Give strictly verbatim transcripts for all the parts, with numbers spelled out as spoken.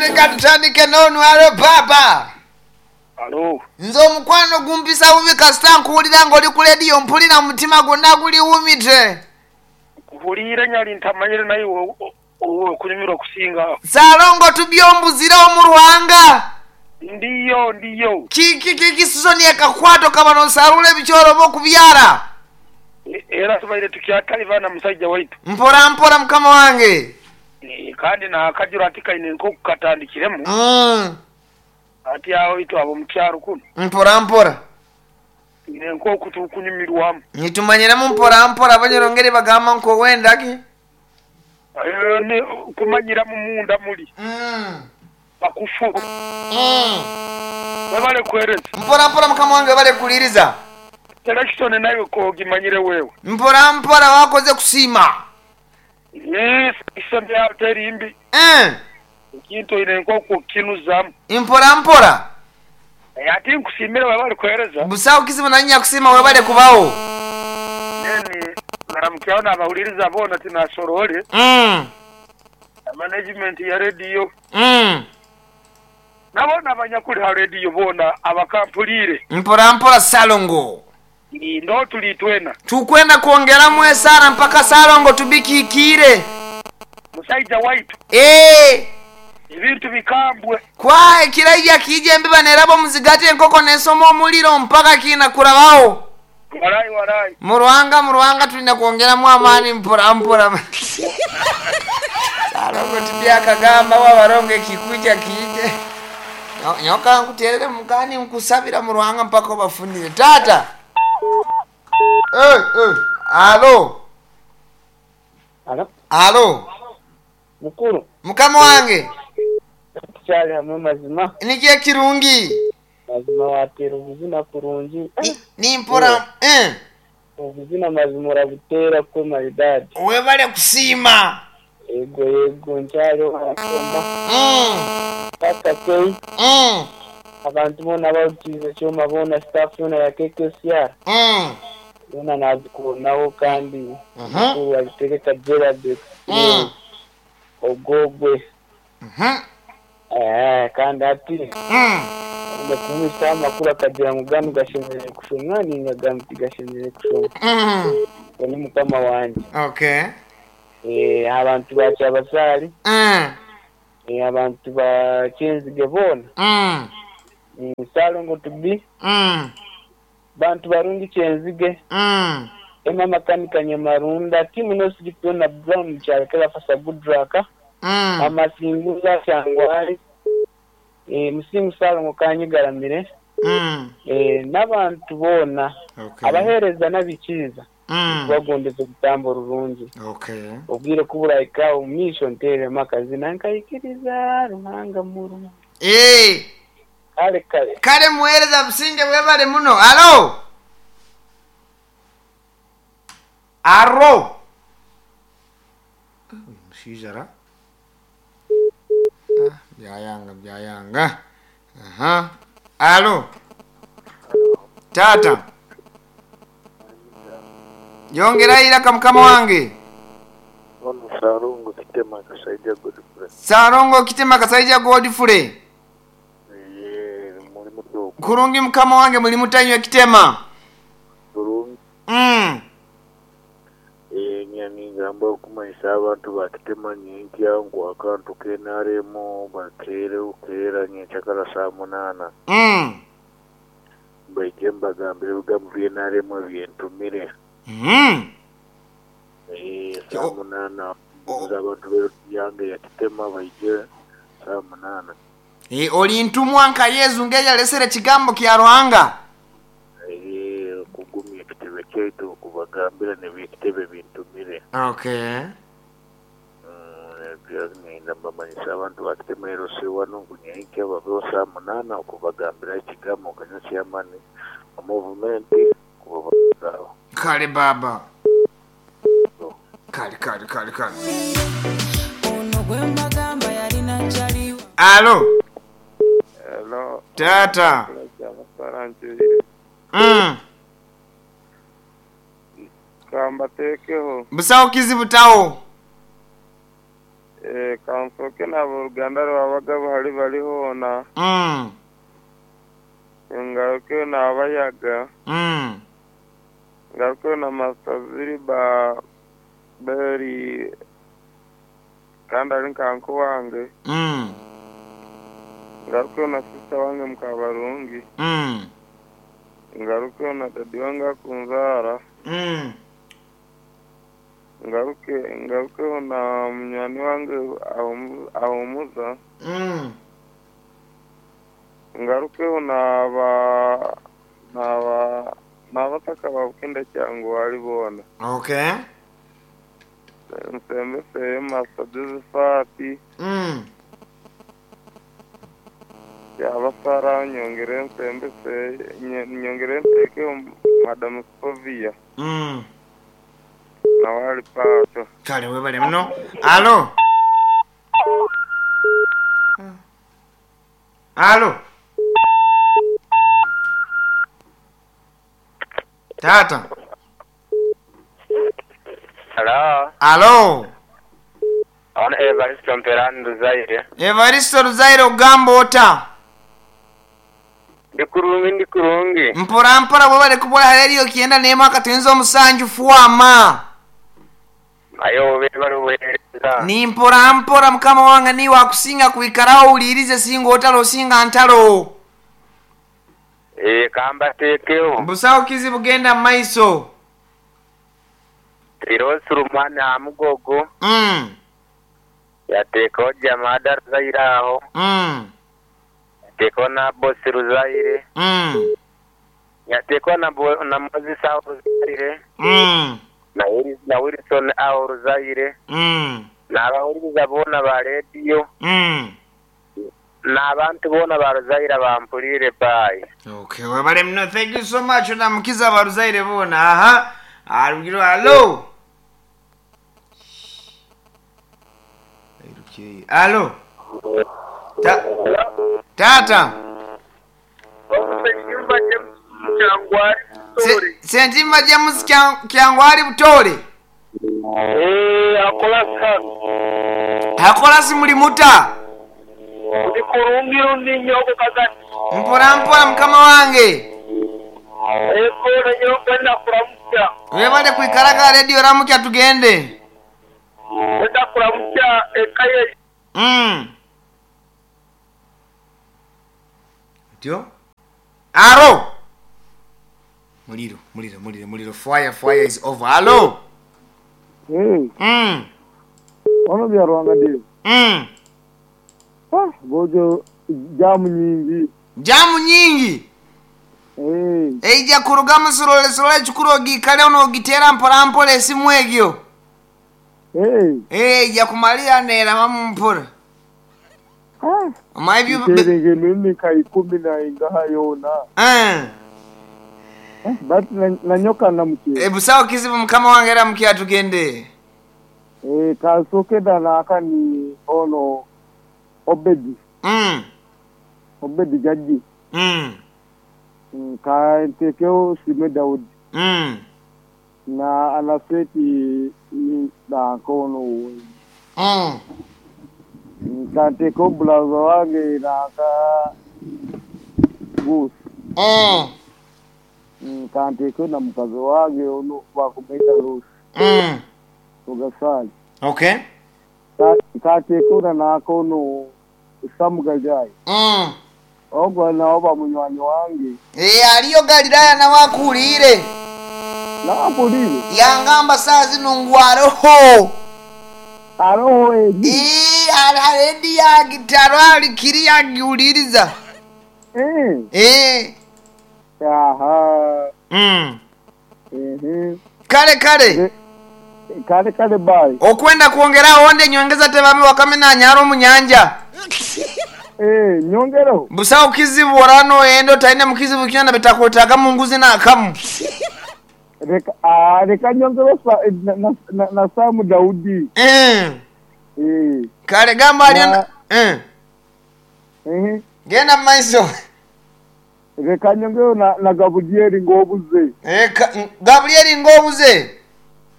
Leka tutandike n'onwalo papa. Alo. Nze omukwano gumpisa bubi kasita nkuwulira ng'oli ku lediyo mpulira mutima gwonna guliwumite. Kuhuliire nyali ntamanyire naye okunyumirwa kusinga. Saalongo tubyombuzirawo mu Rwanga. Ndiyo ndiyo. Kiki kiki sizoni ekakwato kabano nsarula ebikyoro oba okubyala. E- Era tubaire tukyatali na musajja waitu. Mpora mpora mukama wange. E, kandi nakajura ati kaine nk'okukatandikiremu Mm. ati aho itu abo mukyaro kuno Mpora mpora. ine nk'oku tukunyumirwamu. Nitumanyiramu mpora mpora abanyarongere bagamba nk'owendaki. Eh, ne kumanyiramu munda muli Mm. bakufu Mm. webale kwereza Mpora mpora mukama wange bale kuliriza. selection nayo kogimanyire wewe Mpora mpora wakoze kusiima. Eh, selection yawe teri mbi Eh. ekintu ine nk'oku kinuzamu Mpora mpora. Eh, ati nkusimire webale kwereza Busawo kizibu nanya kusiima webale kubawo. neni ngaramukyaho nabahuliriza bona tinasorole Mm. management ya radio Mm. nabona abanyakuli ha radio bona abakampulire Mpora mpora Salongo. ndo tuli twena Tukwenda kuongeramu esara mpaka Salongo tubikikire. musaija waitu Eh. ebintu bikambwe Kwa ekiraija kije embiba nerabo muzigate enkoko nesoma omuliro mpaka kina kurabawo. walai walai Murwanga murwanga tulina kuongeramu amaani mpora mpora. Salongo tibyakagamba wabarongo ekikuja kije. Nyo- Nyoka nkuterere mukani nkusabira murwanga mpaka obafunire. Tata. Eh eh. Alo. Alo, Alo. mukuru Mukama wange. tukyali hamwe mazima Nikye kirungi. mazima watera obuzina kurungi Ni- Nimpora eh. obuzina mazima orabuteera kwe maridadi Webale kusiima. yego yego nkyaliho arasoma Mm. paka kei Mm. abantu boona barukiize kyoma boona staff yoona ya K K C R Mm. yoona nazikubonaho kandi Mhm. mukuru abitegeka Gerard Mm. ogogwe Mhm. Eh, kandi ati Mm. kumwisaho amakuru akagira ngu ganu gashemereire kushomwa ninga ganu tigashemereire kushomwa Mm. Ogwo ni mukama wanje Okay. Eh, abantu ba Kyabasaali Mm. eh, abantu ba Kyenzige boona Mm. Mm, Ssalongo tubi Mm. bantu barungi Kyenzige Mm. Emma Makanika Nyamarunda timu nosigipyona Brown Kyalekera Fasa Gudraka Mm. Amasinguza Kyangwali eh, Musingu Ssalongo Kanyigaramire Mm. eh, n'abantu boona Okay. abaheereza n'abikiiza Mm. bagondeza obutambo rurungi Okay. obwire kuburahika omu maisho nteeremu akazina nkayikiriza Ruhanga murungi Eh. kale kale Kale muhereza businge bwebale muno. Alo. Aro. Mushaija ra. Ah, byayanga byayanga. Aha. Alo. Tata. Yongera iraka mukama wange. Ono Salongo Kitema Kasaija Godfrey. Salongo Kitema Kasaija Godfrey. Ye muri muto Kurungi mukama wange muli mutanywa Kitema. kurungi. Mm. Eh nyani ngamba okumanyisa abantu ba Kitema nyenkya ngu akantu k'N R M bakeere okeera nyenkyakara saa munaana. Mm. Baije mbagambire ebigambo bya N R M ebyentumire. Mm. Eh saa Oh. munaana Oh. abantu b'eyange ya Kitema baije saa munaana. E, oli ntumwa nka Yesu ngeyalesere kigambo kya Ruhanga. Eh kugumya ekitebe kyaitu okubagambira n'ebyekitebe bintumire. Okay. Ngenda mbamanyisa abantu ba Kitema L C wano ngu nyenkya babeho saa munaana okubagambira ekigambo nkanya chairman wa movement kubabazaaho. Kale baba. Kale kale kale kale. Ono gwe mbagamba yalina kyaliwo. Alo. Hello. Tata. Mm. Kambateekeho Busawo kizibu tawo. Eh, kansoke n'aboluganda lwabagabo hali bali hoona. Mm. Ngaruke n'abayaga. Mm. Ngaruke na Master Ziriba Beri kandi ali nkanko wange. Mm. Ngaruke na sister wange Mukabarungi. Mm. Ngaruke na dadi wange akunzaara. Mm. Ngaruke ngaruke na munywani wange ahumu- ahumuza. Mm. Ngarukeho n'aba n'aba n'abataka babukenda cyangu wali bona. Okay. Nsembese Master Josephat Mm. yabasara nyongere nsembese nye- nyongere nteke Madam Skovia Mm. nawe ali paato. Kale webale muno. Alo. Alo. Tata. Hello, Alo. ono Evaristo Mperani Luzaire. Evaristo Luzaire ogamba ota. Ndi kurungi ndi kurungi. Mpora mpora bwebale kubola rediyo kyenda n'emu akatuyinza omusanju fwama. Ayo bebale buweereza. Ni mpora mpora mukama wange niwe akusinga kwikarawo owulirize singa otalo osinga ntalo. Eh, kambateekeho. Busawo kizibu genda mu maiso. Tirosi Rumani Amugogo Mm. yateekaho Jamada Ruzaire aho. Mm. Yateekaho na Bosi Ruzaire. Mm. Yateekaho na, Bo- na Moses aho Ruzaire. Mm. Na, Willis- na Wilson aho Ruzaire. Mm. N'abawuliriza boona ba rediyo. Mm. N'abantu boona ba Ruzaire bampulire bye. Okay, webale muno. Thank you so much. Onamukiza abaruzaire boona. Aha. Alugiro alo. Okay. Alo. Ta Tata. Se- Sentimba James Kya- Kyangwali Butore. Eh, akola sana. Akola si muli muta. Ndi kurungi rundi nyoko kagati. Mpora mpora mukama wange. Eko na nyoko na kuramutya. Webale kwikaraga radio ramukya tugende. Kwenda kuramutya ekaye. Mm. Ndio? Aro. Muliro, muliro, muliro, muliro. Fire, fire is over. Alo. Hey, Mm. ono bya Rwanga dio. Mm. Ah, gojo jamu nyingi. Jamu nyingi. Eh, Eija kurugamu silole silole chukuru ogikale ono ogitera mpola mpola esimu egyo. eh. Eh, ija kumalira nera mamu mpola. Ah, Omayi byu terenge mimika ikumi na ingaha yona. Eh. Eh, but na, na nyoka na mche. Ebusawo kizibu mukama wange era mukya tugende. Eh, kasoke dana akani ono Obedi, Mm. Obedi jaji. Mm. Mm, Ka ntekeo Sime Daudi Mm. na anaseti na kono. Mm. Ka ntekeo bulaza wange na ka Gus. Mm. Mm, Ka ntekeo na mukazi wange ono bakumwita Rusi Mm. Ugasali. Okay. Ka ka ntekeo na nakono Samu Gajai. Mm. Ogwo nawo bamunywani wange. Eh, aliyo Galilaya nawe akuwulire. Nampulire. Yangamba saa zino ngwaroho. Aroho edi. Eh, aledi yagitaro alikiri yagiwuliriza. Eh. Eh. Aha. Mm. Mhm. Kale kale. Kale kale bye. Okwenda kwongerawo onde nyongeza tebami wakamena anyaro munyanja. Eh, nyongero. Busawo kizibu orano endo taine mukizibu kyona betakwetaaga munguzi n'akamu. Reka ah reka nyongero sa na, na, na, na Samu Daudi. Eh. Eh. Kale gamba aliyo Na- eh. Eh. Genda mu maiso. Reka nyongero na, na Gabrieli ngobuze. Eh, ka- Gabrieli ngobuze.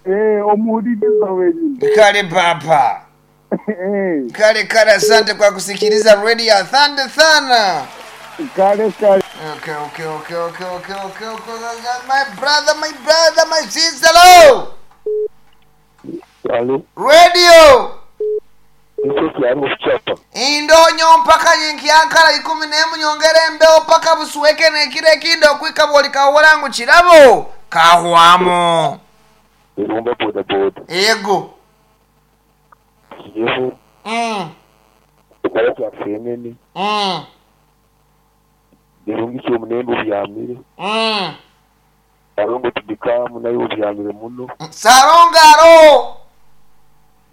Eh, omuwuliriza wenyini. Kale papa. Kale kale, asante kwa kusikiliza radio. Asante sana. Kale kale. Okay, okay, okay, okay, okay, okay, okay. My brother, my brother, my sister, hello. Alo, Radio. Yusuf yari kuchapa. Indonyo mpaka yinkiankala ikumi n'emu nyongera embewo paka busuweke nekiro ekindi okwika bwoli kawolangu kirabo kahwamu. Irumba boda boda. Yego. Yehu, Mm. ukala kya fenene. Mm. Irungi cyo munembe obyamire. Mm. Arongo tudikamu nayo obyamire muno. Sarongaro.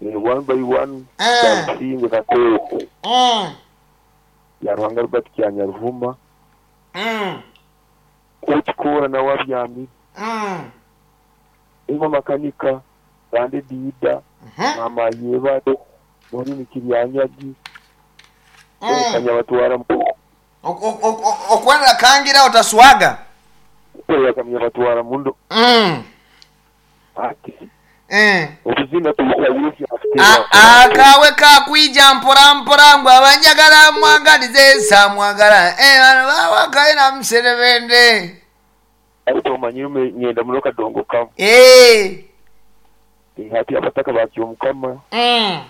Eh, one by one. Eh. Kasinge katoko. Mm. Ya Ruhanga Robert Kyanyaruhuma. Mm. Okikora nawe abyamire. Mm. Ima makanika. Rande dida. Mhm. Mama yebade. Muri mikiryanyagi. Mm. Kanyabatwara mu. Ok- ok- ok- Okwenda kangira otaswaga. Kanyabatwara mundo. Mm. Ati. Eh. Obuzina tubukayizi afite. A- akawe kakwija mpora mpora ngu abanjagala mwagalize samwagala Eh, bano bawakaye namuserebende Ariko omanyire ngenda muno kadongo kamu. Eh. Hati abataka bakyo mukama. Mm.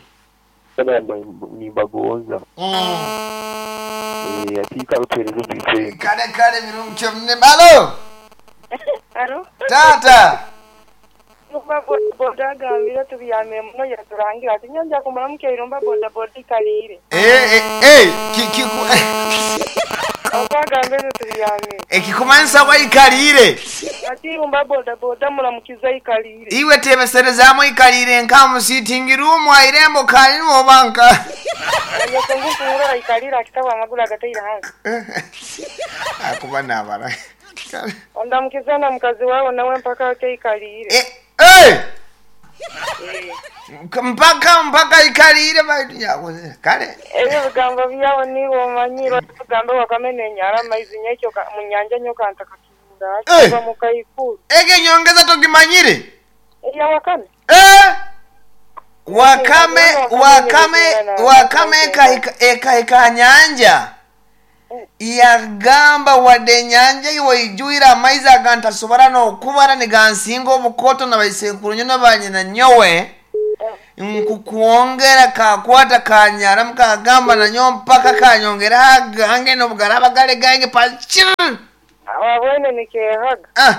Nimbagonza. Mm. Eh, ati karutereza bitwe. Kale kale birungi kyomne alo Alo? tata Irumba boda boda agambire tubyamire muno yaturangira ati nyanja kumara mukya boda boda ikalire. Eh, eh, eh, ki- kiku- Okwagambire tubyamire. ekikumanyisa waikalire Ati irumba boda boda muramukiza ikalire. iwe tebeserezaamu ikalire nkamusitingi rumu airembo kalinu obanka Anyoko ngufungura ikalire akitaba amaguru agataire hansi. akuba nabara Ondamukiza na mukazi wawe nawe mpaka ate ikalire. Eh, eh! Eh. Mpaka mpaka ikalire baitu yakoze kale Ebyo bigambo byawo niwe omanyire ogambe wakamena enyara amaizi nyekyo ka- mu nyanja nyoka ntakakibura Eh. kuva mu kaikuru. ege nyongeza togimanyire Eya wakame. Eh! Wakame wakame wakame ekahika ekahika nyanja yagamba wadde enyanja iwe ijuire amaizi agantasobora n'okubara nigansinga obukoto na baisekuru nyo nabanyina nyowe nkukwongera kakwata kanyaramu kagamba nanyo mpaka kanyongera agange nobugaraba gale gange pachir Wabwene nikehaga. ah.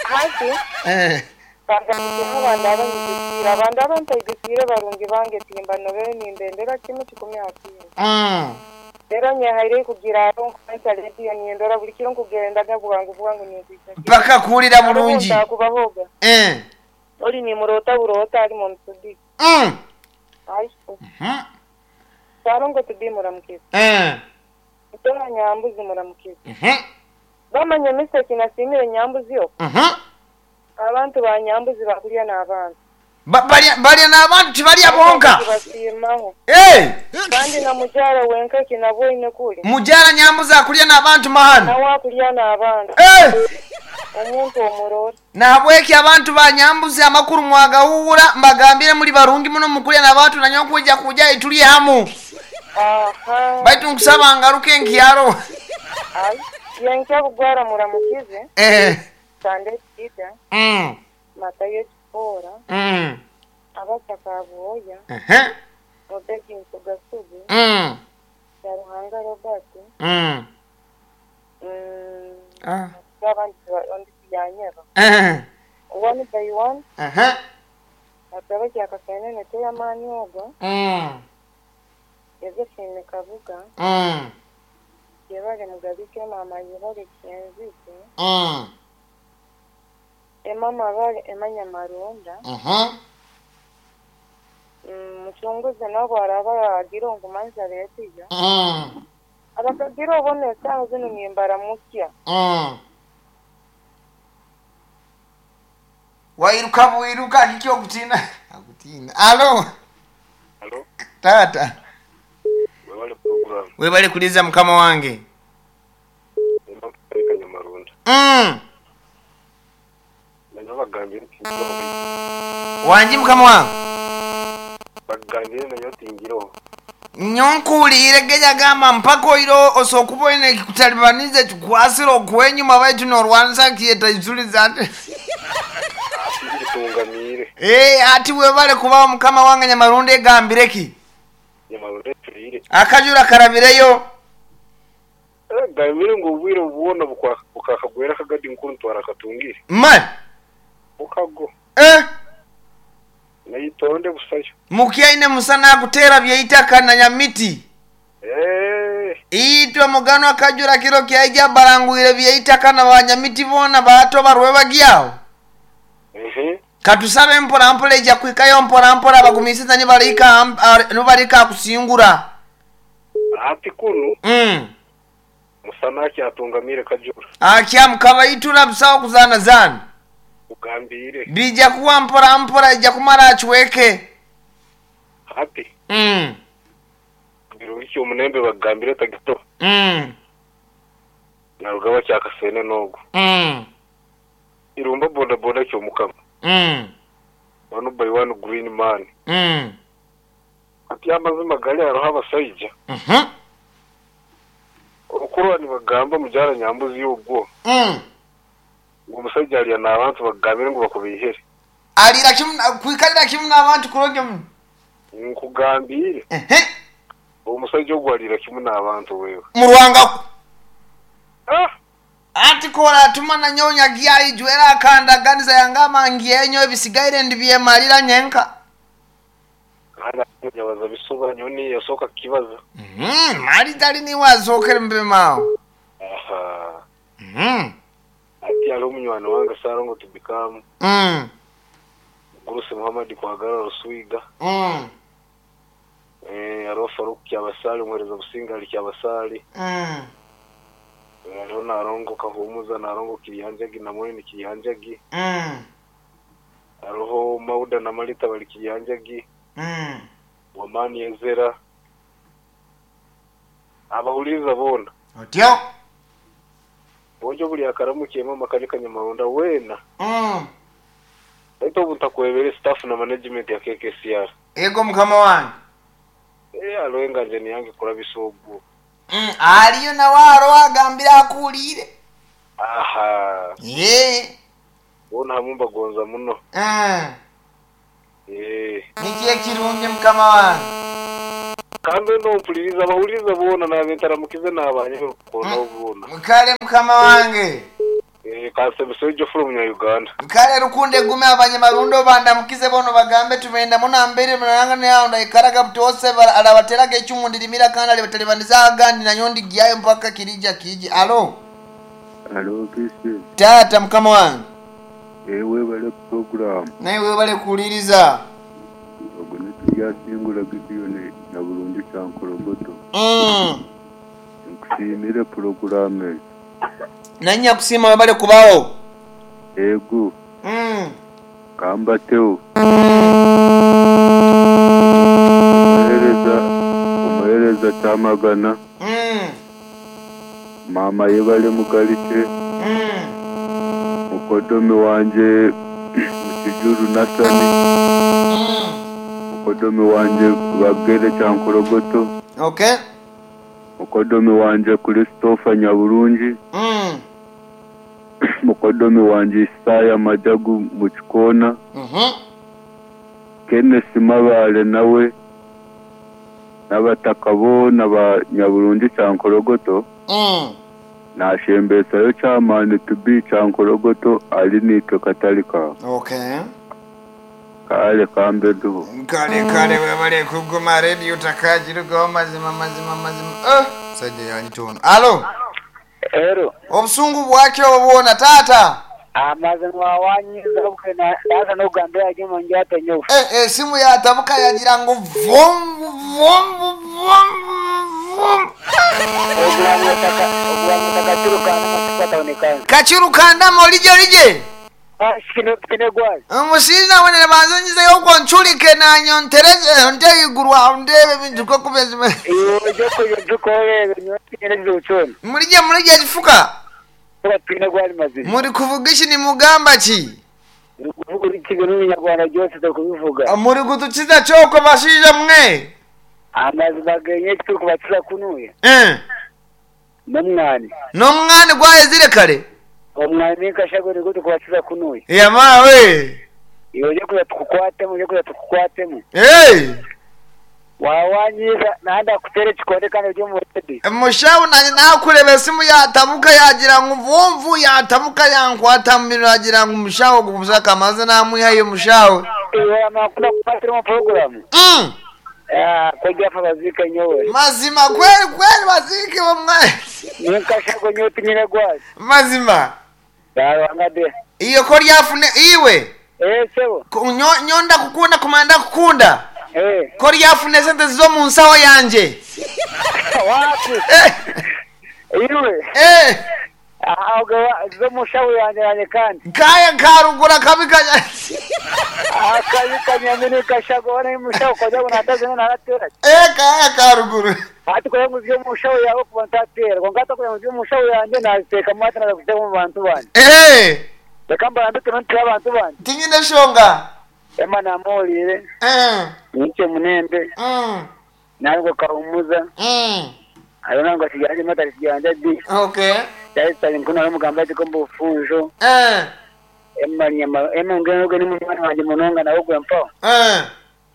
Hati eh. bangamukiha abandu abanyigisiire abandu abantaigisire barungi bange timba nobere nimbendera kimwe kikumi hakindi mm. rero nyehaire kugira aro nkumansa rediyo nindora buli kiro nkugendaga bwangu bwangu ninkwija mpaka kuwulira bulungi kubahoga eh. oli nimurota burota ali mu msudi mm. ai mm. sarongo tubi muramukiza eh. tora nyambuzi muramukiza Mhm. bamanye miseki nasimire nyambuzi yo Mhm. abantu ba nyambuzi bakulya n'abantu Ba- balya balya n'abantu tibalya bonka basiimaho Eh! kandi na mukyala wenka kinabwoine kuli mukyala nyambuzi akulya n'abantu mahano nawe akulya n'abantu Eh! omuntu omurora nahabweki abantu ba nyambuzi amakuru mwagawuwura mbagambire muli barungi muno mukulya n'abantu nanyo nkuja kuja ituli hamu aha baitu nkusaba ngaruke nkyaro ai yenkya bugwara muramukize Eh. sande kida Mm. matayo kipora Mm. abasaka bwoya Ehe. robert nsugasugu Mm. yaruhanga robert Mm. mm, Ah. abandi ba- ondi yanyeba Eh. one by one Ehe. ataba kyakasenene teyamaani ogwo Mm. Josephine Kabuga Mm. yebale mugabike mama yebale kyenzige Mm. emama bale emanya marunda Mhm. Mm, muchunguzi nabo araba agira ongumanza letiyo Mm. abakagira obona esaawa zino nimbara mutya Mm. Wairuka bwiruka kiki okutina akutina alo Alo, tata webale program. webale kuliza mukama wange Ema Kanyamarunda. mm. Nanya bagambye nti wangi mukama wange Akagambire nayo tingiroho. Nyonkuwulire geyagamba mpaka oiro osokuba oine ekikutalibaniza ekikwasire okwenyuma baitu norwanisa kiyeta isuliza ati Ati Eh, ati webale kubaho mukama wange Nyamarundi egambireki Nyamarundi ecurire. Akajura karabireyo. Gambire ngu obwire bwona bukakagwera akagadi nkuru ntwara akatungire. Mani Bukago. Eh. Nayitonde busayo. Mukyaine musana akutera byeitaka na nyamiti. Eh. Itwe mugano akajura kiro kyaija barangwire byeitaka na banyamiti bona bato barwe bagyaho. Mhm. Katusabe mpora mpora ija kwikayo mpora mpora bagumisiza nibarika nibarika kusingura. Ati kunu. Mm. Musana akyatungamire kajura. Akya mukaba itura busawo kuzana zana. Ugambire. Bija kuwa mpora mpora ija kumara achiweke. Ati. Mm. Birungi omunembe bagambire tagito. Mm. Narugaba kyakasene nogo. Mm. Irumba boda boda kyo mukama. Mm. One by one green man. Mm. Ati amazima gali aroha abasajja. Mhm. Okurwa nibagamba mujara nyambuzi yogwo. Mm. Ngo omusajja alya n'abantu bagambire ngo bakubihere. Alira kimu kwikalira kimu n'abantu kuronge mu. Nkugambire. Ehe. Omusajja ogwo alira kimu n'abantu wewe. Murwanga. Ah. Ati kola atuma na nyonya gya ijwera akanda ganiza yangama ngiyenyo ebisigaire ndibyemalira nyenka. Kana nyabaza bisoba nyoni yasoka kibaza. Mhm, mali tali ni wazokere mbemao. Aha. Mhm. Ati alo munywani wange sarongo tubikamu. Mm. Guruse Muhammad kwagara ruswiga. Mm. Eh aro Faruk kyabasali mwereza businga ali kyabasali. Mm. Aro narongo kahumuza narongo kirihanjagi na munini kirihanjagi. Mm. Aroho Mauda na Malita bali kirihanjagi. Mm. Wamani Ezera. Abahuliza bona. Otyo. Bonjo buli akaramukiye mama kalika Nyamaronda wena. Mm. Aito obutakwebere staff na management ya K K C R. Ego mukama wange. Eh aloenga nje niyange kurabisa ogwo. Mm, aliyo na waro agambira akulire. Aha. Eh. Bona hamumba gonza muno. Mm. Eh. Nikiye kirungi mukama wange. Kambe no mpuliriza abahuliriza bona nabentaramukize nabanye kona obona. Mukale mukama wange. Eh kasebisojo from Uganda. Kale rukunde gume abanyamarundo bandamukize bono bagambe tumenda muna mbere munanga ne ndaikaraga butose alabateraga ekyumu ndirimira kandi alibatalibaniza agandi na nyondi gyayo mpaka kirija kiji. Alo. Alo kisi. Tata mukama wange. Ewe bale program. Nawe bale kuliriza. Ogwo nituyasingura Gideon na Burundi kyankorogoto. Mm. Nkusimire program. Nanya kusima bale kubao. Ego. Mm. Kamba teo. Umuhereza umuhereza tamagana. Mm. Mama yebale mugalike. Mm. Mukodomi wanje mukijuru Nasani. Mm. Mukodomi wanje bagere kyankorogoto. Okay. Mukodomi wanje Christopher Nyaburungi. Mm. Mukodomi wanje Isaya Majagu mukikona. Mhm. Kenneth Mabale nawe n'abataka bona ba Nyaburungi kyankorogoto. Mm. Nashembesayo kyamani tubi kyankorogoto ali nitwe katalika. Okay. Kale kambe duho. Kale kale webale kuguma radio takajirugaho mazima mazima mazima. Eh, sajja yanyitono. Alo. Ero. Obusungu bwakyo obwona tata. Amazima wanyiza bukena ndaza nogambira jimo njate nyo. Eh eh simu yatabuka yagira ngo vom vom vom vom. Kachirukanda molije lije. Ah kino kine gwazi. Omushiza wene banzonyizeyo okwo nchulike nanyo ntereze nteyigurwa ndebe bintu ko kubezima. Iyo joko joko nyo kine zuchona. Mulije mulije kifuka. Twine gwali mazima. Muri kuvugishi ni mugamba ki? Uri kuvuga urikiga n'Umunyarwanda byose turi kubivuga. Muri gutukiza cyoko bashija mwe. Amazima genye turi kubakiza kunuye. Eh. N'umwani. N'umwani gwahezire kare. Omwani kashago niko tukubakiza kunuye. Yamawe. Iwe uje kuza tukukwatemu, uje kuza tukukwatemu. Hey. Wawanyiza nanda kutere ekikonde kandi uri omu redi. Mushawu nanye nakureba esimu yatabuka yagira ngu vumvu yatabuka yankwata mumiro yagira ngu mushawu gusaka amaze namwihayo mushawu. Iwe amakuru akukwatira omu poroguramu. Mm. Ah, kojja afa baziike nyowe. Mazima kweli kweli bazike bamwe. Ninkashago nyowe tinyine gwazi. Mazima. Yarwanga de. Iyo ko ryafune iwe. Eh, sebo. Ku- nyo- Nyonda kukunda kumanda kukunda. Eh. Ko ryafune sente zo mu nsaho yanje. Wapi? Eh. Iwe. Eh. Ahubwo zo mushawu yanjye yanjye kandi. Kaya karugura kabi kanya. Akabi kanyamini kashago wana mushawu kojya ngo nataze naratera. Eh kaya karuguru. Ati kugira ngo uvye mushawu yawe kuba ntatera. Ngo ngata kugira ngo uvye mushawu yanjye naziteka mu hati naza mu bantu banje. Eh. Reka mbarambike nonti y'abantu banje. Tinyine shonga. Ema namulire. Eh. Niche munembe. Mm. Nango kahumuza. Mm. Ayo nango kijanje mata kijanje di. Okay. Cyari nkuna mugamba ati ko mbufunjo. Eh. Ema nyama ema ngeno ni mwana wanje munonga nawe gwe mpa. Eh.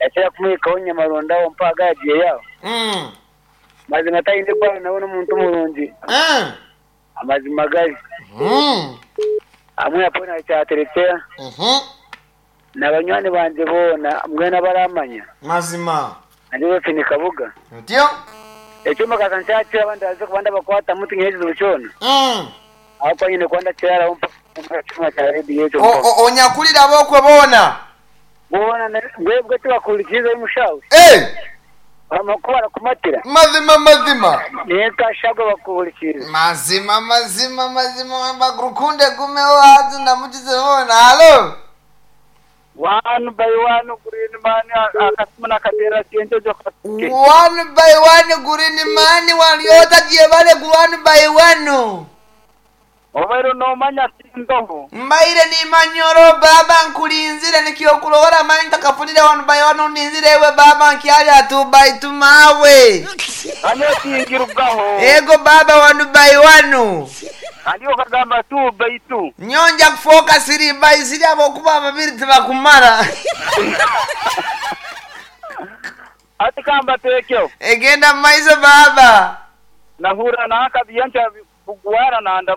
Yakira kumwikaho nyamaronda mpa agagiye yawo. Mm. Mazima tayinde kwa nawe n'omuntu murungi. Eh. Amazima gali. Mm. Amwe apona kyaterekera. Mhm. N'abanywani banje boona mbwena baramanya. Mazima. Andi bafini kabuga. Ndio. Ekyuma kasa nkyakira abandi aze kubanda bakwata muti nyejizo kyona. Mm. Aho nyine kwanda kyara mpa kyuma kya radio ekyo. O- o- Onyakulira bokwe bona. Boona bwebwe tibakurikiza omushawe. Eh. Amakuru barakumatira. Mazima mazima. Niye kashago bakurikiza. Mazima mazima mazima bakurukunde gume wazi ndamukize bona. Halo. One by one green man akasimu nakatera sente jo One by one green man waliota jebale ku one by one. obaire nomanya sindoho Mbaire ni manyoro baba nkulinzire nikyokulowora manyi takafunire one by one uninzire ewe baba nkyalya two by two mawe. ane tingirubwaho Ego baba one by one. andi okagamba two by two Nyonja kufoka siri by siri abokuba babiri tibakumara. ati kamba tekyo Egenda maiso baba. nahura nakabiyancha bugwara nanda